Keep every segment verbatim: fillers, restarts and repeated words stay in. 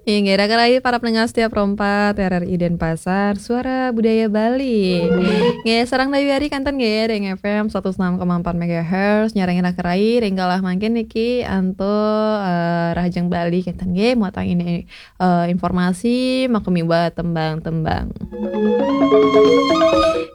Inggih, raka rai para pendengar setia Pro empat R R I Denpasar, Suara Budaya Bali. Nggih, sareng Dayu Ari kanten nggih ring F M seratus enam koma empat megahertz, nyarengin raka rai ring galah mangkin niki antuk, eh, Rahajeng Bali kanten nggih, muatang ini, eh, informasi, makamiwa tembang-tembang.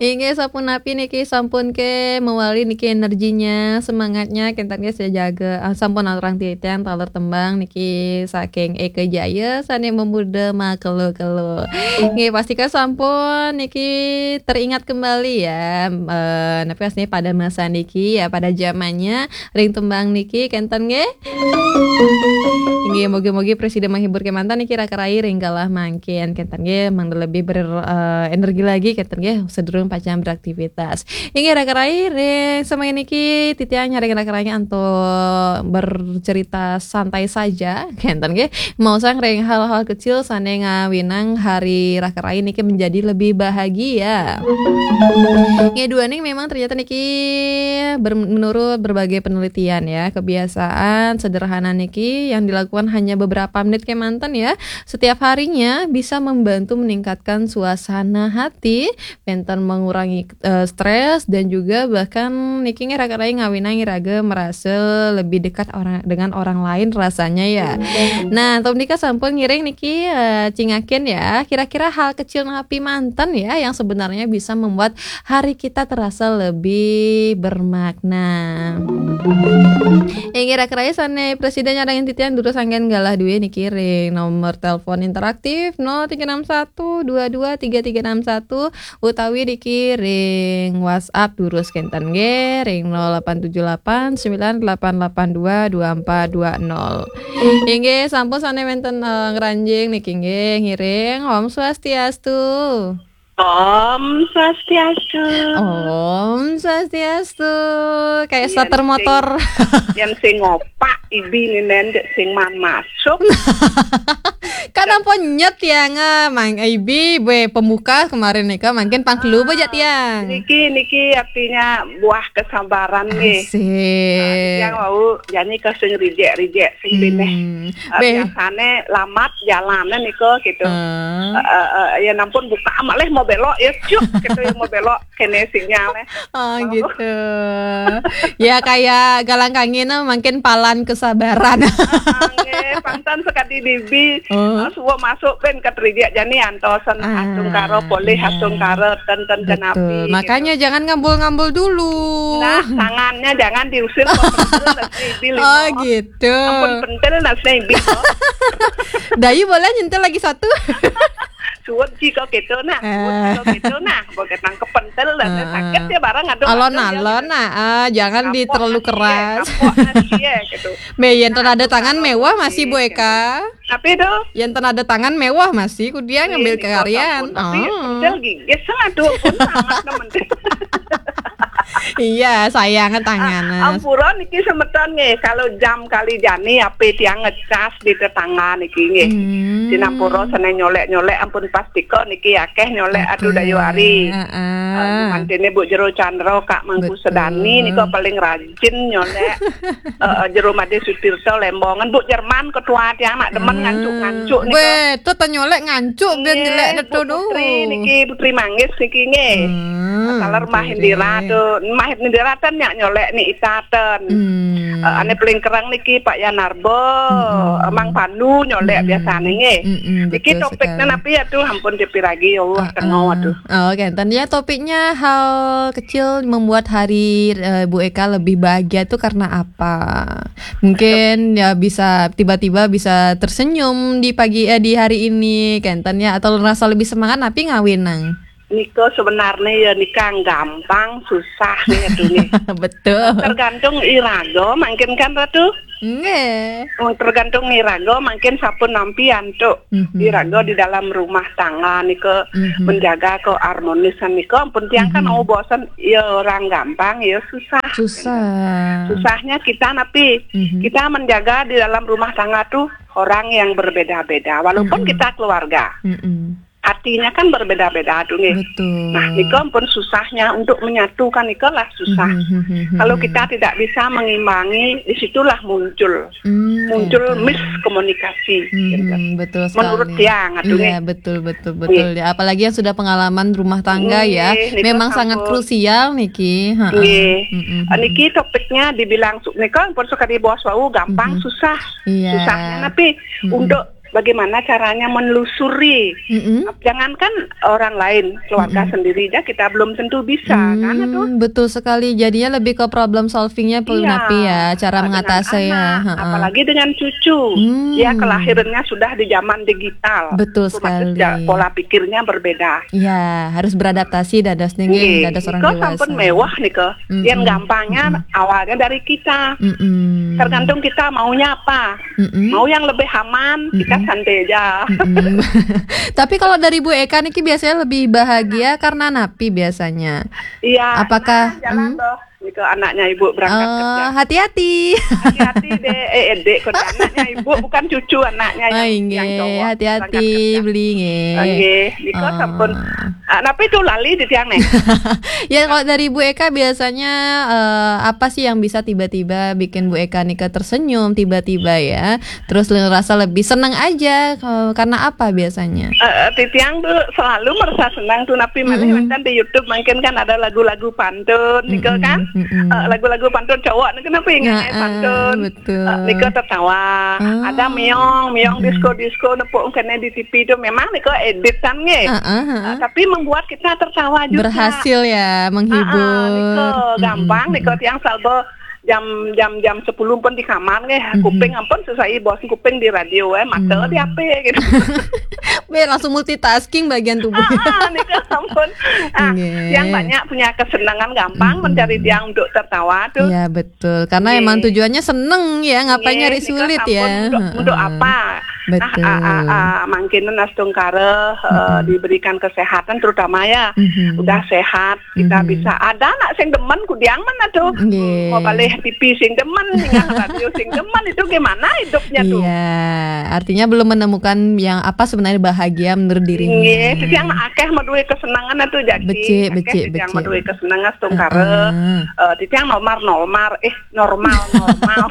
Inggih, sapunapi niki sampun ke mawali niki energinya, semangatnya, kanten nggih sajaga. Ah, sampun aturang titiang taler tembang niki saking Eka Jaya, sane memuda makelo-kelo. Nggih, pastika sampun niki teringat kembali ya, eh, napi asline pada masa niki ya, pada zamannya ring tembang niki, kanten nggih. Inggih, mogi-mogi prasida menghibur kemanten niki raka rai ring galah mangkin. Kanten nggih, mangda lebih ber, eh, energi lagi kanten nggih, sadurung pacang beraktivitas. Inggih, raka rai ring semaya niki titiang nyarengin raka rai antuk bercerita santai saja, kanten nggih. Maosang ring hal-hal kecil sane ngawinang hari raka rai niki menjadi lebih bahagia. Nggih, duaning memang ternyata niki ber-, menurut berbagai penelitian ya, kebiasaan sederhana niki yang dilakukan hanya beberapa menit kemanten ya, setiap harinya bisa membantu meningkatkan suasana hati, manten mengurangi, eh, stres, dan juga bahkan niki nggih raka rai ngawinang iraga merasa lebih dekat orang, dengan orang lain rasanya ya. Nah, antuk menika sampun ngiring niki, eh, cingakin ya, kira-kira hal kecil napi manten ya yang sebenarnya bisa membuat hari kita terasa lebih bermakna. Inggih, raka rai sane prasida nyarengin titiang durus anggen galah duwe niki ring nomor telepon interaktif nol tiga enam satu dua dua tiga tiga enam satu utawi niki ring WhatsApp durus kanten nggih ring nol delapan tujuh delapan sembilan delapan delapan dua dua empat dua nol. Inggih, sampun sane wenten, eh, ngranjing niki nggih ngiring. Om Swastiastu. Om Swastiastu. Om Swastiastu. Kayak Yen starter sing, motor. Yen sing ngopak ibi ninen dek sing man masuk. Kan ampun nyet ya nga, mang ibi bue pembuka kemarin nika, mangkin pangkelu baja tiang. Niki, niki artinya buah kesabaran nggih. Asik. Ah, tiang wau jani ke sing rijek-rijek sing bineh. Hmm. Eh, be- biasane lamat jalane nika gitu. Ah. Eh, eh, eh, ya nampun buka amat leh mau belok ya cuk gitu ya mau belok kene sinyale. Oh, gitu. Ya, kayak galang kangin, eh, mungkin palan kesabaran. Ah, nggih, pangtan sekadi dibi. Oh. Ah, suwa masuk ben ke rijek jani antosen. Ah, asung karo polih, iya. Asung karo ten, ten. Betul. Kenapi, makanya gitu. Jangan ngambul-ngambul dulu. Nah, tangannya jangan diusir, kok pentil nasi ibi limo. Oh, gitu. Ampun pentil nasi ibi, kok. Dayu boleh nyentil lagi satu? Suwun ji kok gitu, nah. Suwun ji kok gitu, nah. Boleh tangkep pentil, nasi. Ah, sakit ya barang, aduh, alon-alon, aduh, ya, gitu. Nah, ah, jangan di terlalu keras. Kapok nasi ya, kapok nasi ya, gitu. Be, yen ten ada tangan mewah masih, Bu Eka. Tapi itu. Yen ten ada tangan mewah masih, ku dia ngambil karyan. Tapi pentil gigis, aduh, pun sangat nemen. Iya, sayang tangan. Ah, ampura niki semeton nggih, kalau jam kali jani ape tiang ngecas di tetangga niki nggih. Hmm. Sinampura sane nyolek-nyolek ampun pastika niki akeh nyolek, aduh, dayu ari. Heeh. Ah, mantene Bu Jero Chandra, Kak Mangku Sedani nika paling rajin nyolek. Eh, eh, Jero Made Sutirta Lembongan, Bu Jerman ketua tiang nak demen ngancuk-ngancuk nika. Weh, tu tanyolek ngancuk ben jelek neto. Putri niki, Putri Manggis niki nggih. Hmm, taler Mah Indira tu, Mah Indira ten nyak nyolek ni ita ten. Hmm. Eh, ane paling kereng niki Pak Yanarbo, Emang Panu nyolek biasane nggih. Mm-mm, niki betul topiknya sekali. Napi ya tu, ampun dipiragi ya Allah, tengok tu. Oh, oke. Tadinya topiknya hal kecil membuat hari, eh, Bu Eka lebih bahagia tu karena apa? Mungkin ya bisa tiba-tiba bisa tersenyum di pagi, eh, di hari ini, kenten ya, atau ngerasa lebih semangat, napi ngawinang? Nika sebenarnya ya nika gampang, susah nih, aduh nih. Betul. Tergantung iraga, mungkin kan, Ratu? Nggih. Wong tergantung iraga, mungkin sampun nampi antuk iraga di dalam rumah tangga nika menjaga keharmonisan nika, ampun tiang kan mau bosen, ya orang gampang, ya susah. Susah. Susahnya kita napi, kita menjaga di dalam rumah tangga tuh orang yang berbeda-beda, walaupun kita keluarga. Mm-mm. artinya kan berbeda-beda tuh nggih. Betul. Nah, nika pun susahnya untuk menyatukan nika lah susah. Mhm, mhm, mhm. Kalau kita tidak bisa mengimbangi, disitulah muncul Hmm, muncul gitu. Miskomunikasi. Gitu. Mhm, betul sekali. Menurut tiang, atuh, Iya, nggih. betul, betul, betul. Ya, apalagi yang sudah pengalaman rumah tangga ya. Nggih, nika Memang sangat sampun. Krusial niki. Heeh. Nggih. Mhm, Eh, niki topiknya dibilang su- nika pun suka dibahas wau gampang Mhm. susah. Iya. Susahnya tapi Mhm. untuk bagaimana caranya menelusuri. Mhm. Jangankan orang lain, keluarga Mhm. sendiri aja kita belum tentu bisa kan, atuh. Hmm, betul sekali. Jadinya lebih ke problem solvingnya perlu Iya, napi ya, cara dengan mengatasi ya. anak, Heeh. Apalagi dengan cucu. Hmm. Ya, kelahirannya sudah di zaman digital. Betul Otomatis sekali. ja- pola pikirnya berbeda. Ya, harus beradaptasi dados ning Nggih, dados orang nika dewasa. Sampun mewah nika. Mm-mm. Yang gampangnya Mm-mm. awalnya dari kita. Mm-mm. Tergantung kita maunya apa. Mm-mm. Mau yang lebih aman, kita Mm-mm. santai aja. Mm-mm. Tapi kalau dari Bu Eka niki biasanya lebih bahagia karena napi biasanya. Iya. Apakah- Nah, jalan hmm? Loh. Itu anaknya ibu berangkat Oh, kerja. Hati-hati. Hati-hati deh, eh dek, kok anaknya ibu bukan cucu anaknya yang, Oh, yang inggih, cowok hati-hati berangkat kerja. beli nggih. Nggih, nika Oh. Sampun. Ah, napi itu lali di tiang nih. Ya, kalau dari Bu Eka biasanya eh, apa sih yang bisa tiba-tiba bikin Bu Eka nika tersenyum tiba-tiba ya? Terus le- rasa lebih seneng aja eh, karena apa biasanya? Eh, eh, titiang tuh selalu merasa senang tuh napi malih Mm-mm. Wénten di YouTube mungkin kan ada lagu-lagu pantun nika Mm-mm, kan. mm-mm. Eh, lagu-lagu pantun cowok nika napi ingat Nah, pantun. betul. Eh, nika tertawa. Ah. Ada miong, miong Mm-mm. disco-disco nepuk kene di T V itu memang nika editan nggih. Ah, ah, ah. Eh, tapi membuat kita tertawa juga. Berhasil ya menghibur. Ah, ah, nika Mm-mm, gampang nika mm-mm. Tiang salba jam jam jam sepuluh pun di kamar nggih. Mhm. Kuping ampun sesai bos kuping di radio eh mata Hmm. di H P gitu. Be langsung multitasking bagian tubuh. Ah, ah, nika ampun. Ah, Nggih. Yang banyak punya kesenangan gampang Mm-mm. mencari tiang untuk tertawa tuh. Iya, betul. Karena Nggih. Emang tujuannya seneng ya, ngapain Nggih, nyari nika sulit sampun ya. Untuk, untuk Heeh. apa? Betul. Nah, ah, ah, ah, mangkin astungkara eh, Mm-mm. diberikan kesehatan terutama ya. Mhm. Udah sehat, kita Mhm. bisa. Ada anak sing demen kudiang mana tuh? Nggih. Mau balik T V sing demen, ningah radio sing demen itu gimana hidupnya tuh? Iya, artinya belum menemukan yang apa sebenarnya bahagia menurut dirinya. Nggih, titiang akeh maduwe kesenangan tuh jadi. Becik, Akeh becik, titiang becik. Maduwe kesenangan astungkara. Heeh. Eh, titiang nomar-nomar, eh normal-normal.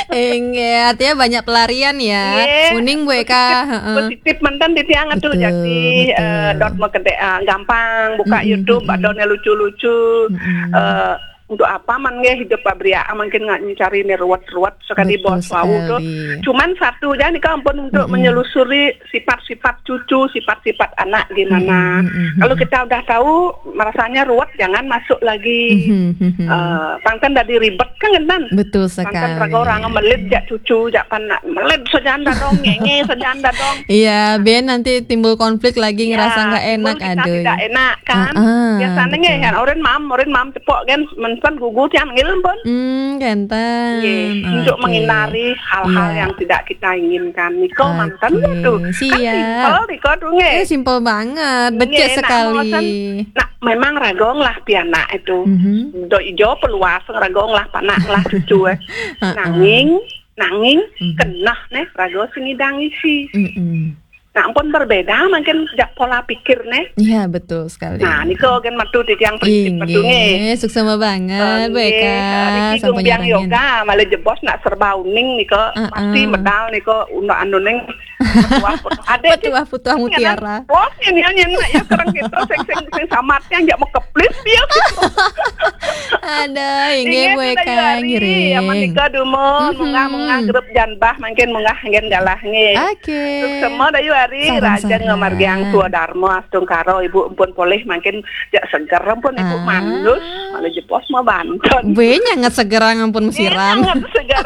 Enggak, artinya banyak pelarian ya. Nggih, Uning Bu Eka, heeh. Positif mantan titiang tuh Betul, jadi eh, betul. Dot mau gede ah, gampang buka Mm-mm, YouTube, mm-mm. Ada yang lucu-lucu. Mm-mm. Eh, untuk apa man nggih hidup pabria mungkin nggak mencari nih ruwet-ruwet sekali Betul bos wau tuh. sekali. Cuman satu aja nih ampun untuk Mm-mm. menelusuri sifat-sifat cucu, sifat-sifat anak gimana. Mm-mm, mm-mm. Kalau kita udah tahu merasanya ruwet jangan masuk lagi. Mhm, mhm. Eh, pangkan dari ribet kan kan. Betul sekali. Pangkan raga orang melit jak cucu, jak panak melit sejanda dong, ngenge sejanda dong. Iya, ben nanti timbul konflik lagi ngerasa Ya, nggak enak, timbul kita aduh. Tidak enak kan. Heeh, Biasanya betul. Nggih kan, orin mam, orin mam cepok kan, mensan gugu tiang ngil pun. Hmm, kenten. Nggih, untuk Oke. menghindari hal-hal Iya. Yang tidak kita inginkan. Niko Oke, mantan ya tuh. siap. Kan simpel niko tuh nggih. Eh, simpel banget, becik Nggih, nak sekali. Mau sen-, nak memang ragong lah pianak itu. Mhm. Do ijo peluas ragong lah panak lah cucu eh. Heeh. Nanging, nanging Mhm. Kenah neh rago sing ngidang isi. Mm-mm. Nah, ampun berbeda mungkin jak pola pikir neh. Iya, betul sekali. Nah, niko kan metu titiang prinsip metu nggih. Inggih, suksema banget, Bu Nggih, Eka. niki Sampun gumbiang nyarengin. Yoga, malah jebos nak serba uning nika Heeh. Pasti medal nika undang anu ning petuah-petuah. Ada Petuah-petuah mutiara. Bos ini yang nak ya kerang kita sing sing sing samat yang jak mekeplit dia. Ada, inggih, Bu Eka, ngiring. Ya menika dumun, Mhm. munggah-munggah grup janbah mungkin munggah ngen galah nggih. Oke. Semua dayu hari Sareng-sareng. Raja Ngamargiang Tua Darma astungkara ibu ampun polih mungkin jak seger ampun ibu Ah. manus malah jebos mau banten. Be nyanget segerang ampun mesirang. Sangat segar.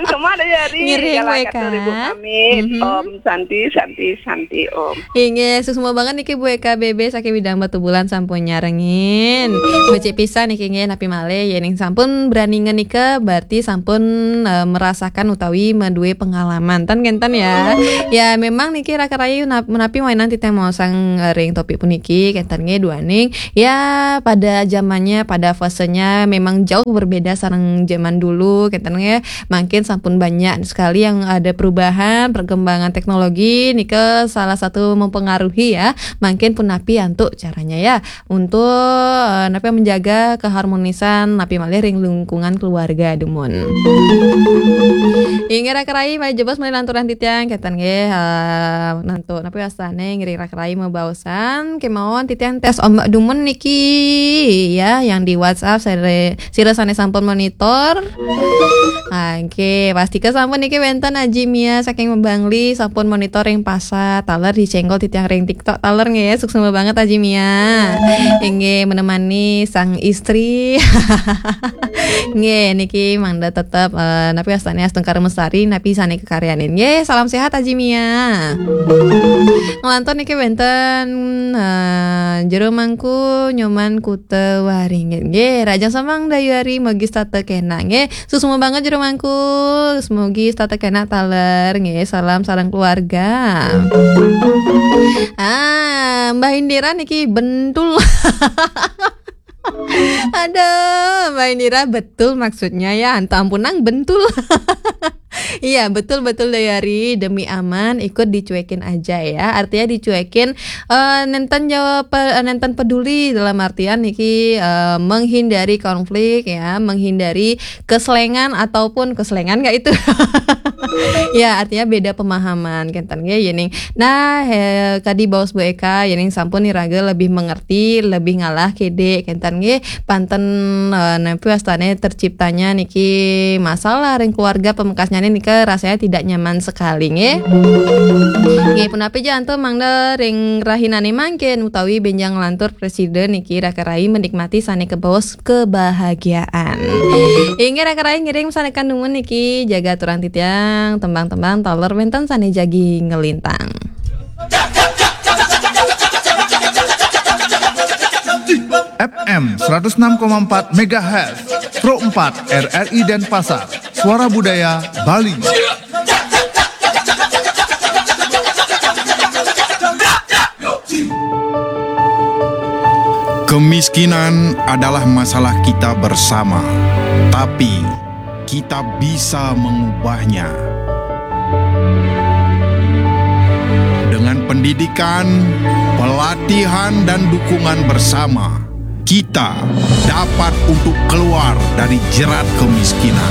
Semua dayu hari Ngiring, galah Bu Eka. Katur ibu pamit. Mhm. Om Santi, Santi, Santi Om. Inggih, suksema banget niki Bu Eka B B saking Widang Batubulan sampun nyarengin. Becik pisan niki nggih napi malih yen sampun berani ngenika berarti sampun eh, merasakan utawi maduwe pengalaman. Ten kenten ya. Ya memang niki raka rayu nap- menapi wainan titiang maosang eh, ring topik puniki kenten nggih duaning. Ya pada zamannya pada fasenya memang jauh berbeda sareng zaman dulu kenten nggih. Mungkin sampun banyak sekali yang ada perubahan perkembangan teknologi teknologi nika salah satu mempengaruhi ya. Mangkin punapi antuk caranya ya untuk eh, napi menjaga keharmonisan napi malih ring lingkungan keluarga dumun. Inggih raka rai, malih jebos malih lanturan titiang kenten nggih eh, nantuk napi wastane ngiring raka rai mabaosan kemawon titiang tes ombak dumun niki ya yang di WhatsApp sira, sira sane sampun monitor. Oke, pastika sampun niki wenten Aji Mia saking Mebangli sampun monitor ring pasar taler dicenggol titiang ring TikTok taler nggih. Suksma banget Aji Mia. Inggih menemani sang istri. Nggih, niki mangda tetep eh, napi wastane astungkara mesari napi sane kakaryanin. Nggih, salam sehat Aji Mia. Ngelantur niki wenten eh, Jero Mangku Nyoman Kuta Waringin. Nggih, Rajang Semang Dayu Ari Mogis Tata Kena. Nggih, suksma banget Jero Mangku. Semogi setata kena taler nggih. Salam sareng keluarga. Ah, Mbah Indira niki bentul. Aduh, Mbah Indira betul maksudnya ya. Anto ampunang bentul. Iya, betul betul Dayari, demi aman ikut dicuekin aja ya. Artinya dicuekin eh, nenten jawab eh, nenten peduli dalam artian niki eh, menghindari konflik ya, menghindari keselengan ataupun keselengan nggak itu. Ya, artinya beda pemahaman kenten nggih yening. Nah, he, kadi baos Bu Eka yening sampun iraga lebih mengerti, lebih ngalah kede kenten nggih. Panten eh, napi wastane terciptanya niki masalah ring keluarga pamekasnyane nika rasanya tidak nyaman sekali nggih. Nggih, punapi ja antuk mangda ring rahinane mangkin utawi benjang lantur presiden niki raka rai menikmati sane kebaos kebahagiaan. Inggih raka rai ngiring sane kandumun niki jaga aturan titiang tembang-tembang taler wenten sane jagi ngelintang. F M seratus enam koma empat megahertz, Pro empat R R I Denpasar, Suara Budaya Bali. Kemiskinan adalah masalah kita bersama, tapi kita bisa mengubahnya. Dengan pendidikan, pelatihan, dan dukungan bersama, kita dapat untuk keluar dari jerat kemiskinan.